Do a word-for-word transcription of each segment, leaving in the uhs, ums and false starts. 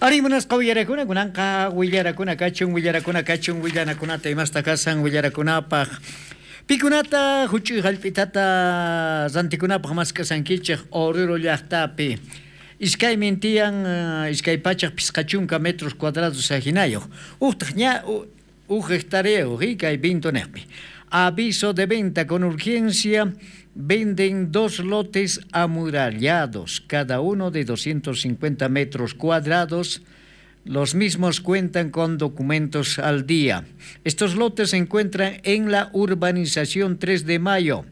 Ari munasqa willarakuna kunanqa willarakuna kachun willarakuna kachun willanakunata imasta kasan willarakunapaq pikunata huch'uy hallp'itata rantikunapaq mask'asankichik Oruro llaqtapi iskaymin tiyan iskay pachak pisqa chunka metros cuadrados ajinayuq uqtaq ña uj hectareyuq kay Vintoneqpi. Aviso de venta con urgencia. Venden dos lotes amurallados, cada uno de doscientos cincuenta metros cuadrados. Los mismos cuentan con documentos al día. Estos lotes se encuentran en la urbanización tres de Mayo.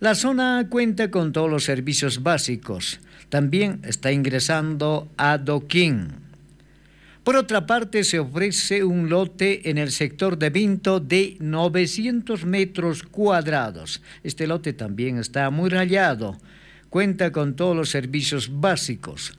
La zona cuenta con todos los servicios básicos. También está ingresando adoquín. Por otra parte, se ofrece un lote en el sector de Vinto de novecientos metros cuadrados. Este lote también está amurallado. Cuenta con todos los servicios básicos.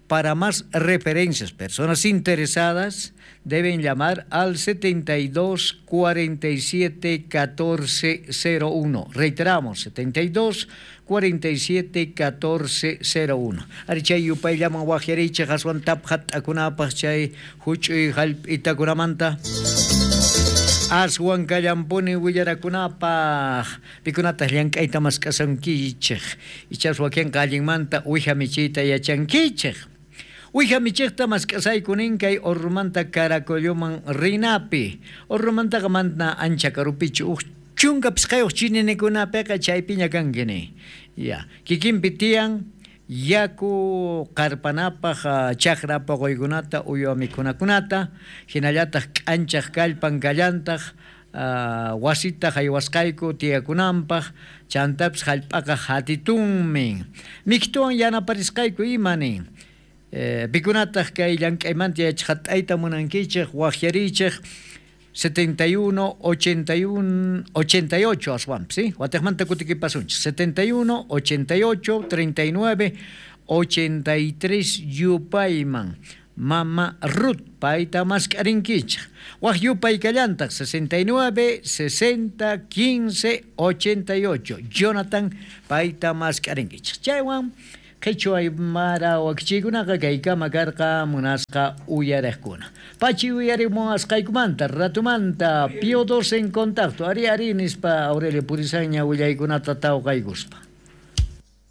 Para más referencias, personas interesadas deben llamar al setenta y dos cuarenta y siete catorce cero uno. Reiteramos, setenta y dos cuarenta y siete catorce cero uno. Ari chay yupayllaman wajyarichej aswan tapjat akunapaj chay huch'uy hallp'itakunamanta. Aswan kallampuni willarakunapaj pikunataq llank'ayta mask'asankichej ichas wakinqa allinmanta uwija michiyta yachankichej. Uwija michejta mask'asayku nin kay Orrumanta Caracolloman rinapi. Orrumantaqa mana ancha karupichu uj chunka pisqayuq chininakunapiqa chaypiña kanki ni. Ya, kikinpi tiyan yaku qarpanapaj chakra poqoykunata uywa mikhunakunata hinallataq k'anchaq kallpan kallantaq wasita haywasqayku tiyakunanpaq chantapis hallp'aqa hatitunmi miktuwan yanaparisqayku ima nin. Pikunataq kay llank'aymanta yachaqat'ayta munankichej waqyarichej setenta y uno, ochenta y uno, ochenta y ocho aswanpis, ¿sí? Watejmanta kutikipasunchis setenta y uno, ochenta y ocho, treinta y nueve, ochenta y tres yupayman Mama Ruth payta mask'arinkichej waj yupay kallantaq sesenta y nueve, sesenta, quince, ochenta y ocho Jonathan payta mask'arinkichej chaywan qhichwa aymara wakichiykunaqa kaykama karqa munasqa uyariqkuna. Pachi uyarimuwasqaykumanta ratumanta Pío doce en contacto. Ari ari nispa Aurelio Purizaña willaykunata tawqaykuspa.